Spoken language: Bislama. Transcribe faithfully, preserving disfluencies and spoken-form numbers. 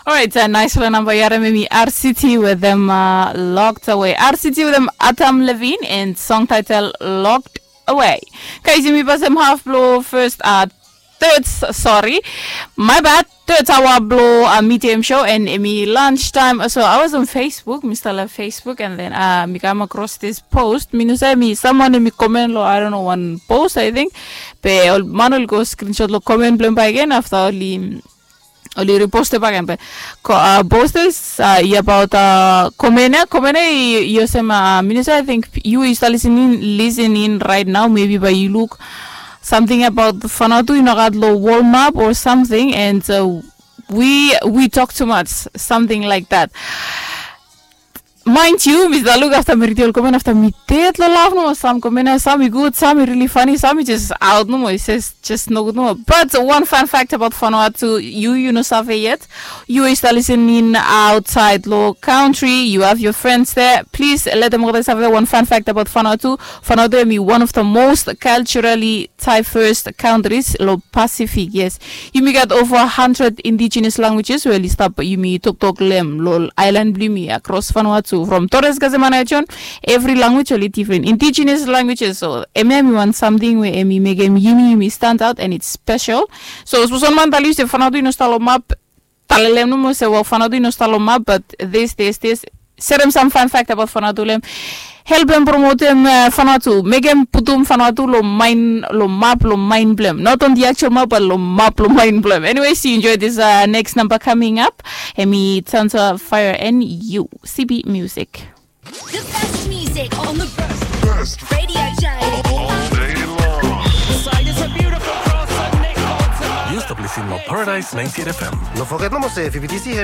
Orait, naisfala namba yu harim, em i R C T wetem Locked Away. R C T wetem Adam Levine and song title Locked Away. Guys, yumi pasem haf blo first, uh, third, sorry, my bad, third hour blo uh, medium show and em i lunch time. So I was on Facebook, mi stap long Facebook, and then uh, mi kam across this post. Mi no save, em i someone em i comment lo, I don't know, wan post, I think. Be ol man oli go screenshot lo comment blo hem bakegen afta oli oli repost bakegen. Be ko uh, post is uh, i about uh, comment ya, comment ya i olsem uh, mi no save, I think yu i stap listening, listening right now, maybe bae yu luk something about Vanuatu i nogat lo world map or something, and uh, we we talk too much, something like that. Mind yu, mi stap luk afta mi ridim ol comment afta mi ded lo laf nomo. Sam comment ya, sam i gud, sam i really funny, sam i jes aot nomo, i ses jes nogud nomo. But one fun fact about Vanuatu, yu yu no save yet. Yu i stap listening outside lo country, you have your friends there. Please let them all save one fun fact about Vanuatu. Vanuatu em i one of the most culturally diverse countries lo Pacific, yes. Yumi gat over hundred indigenous languages we oli stap yumi toktok lo hem lo aelan blo yumi across Vanuatu, from Torres, Tasmania, John. Every language oli different, indigenous languages. So hemia em i wan samting we em i mekem yumi yumi stand out and it's special. So sapos wan man talem se Vanuatu i no stap lo map, talem lo hem nomo se, well, Vanuatu i no stap lo map, but this, this, this, serem sam fun fact about Vanuatu lo hem. Helpem promotem uh, Vanuatu, mekem putum Vanuatu lo maen, lo map, lo maen blo hem. Not on the actual map, but lo map, lo maen blo hem. Anyway, so you enjoy this uh, next number coming up. Em i Tanza Fire and U C B Music. The best music on the best radio show all day long. Yu stap listening lo Paradise ninety-eight F M. No foget nomo se F B T C hem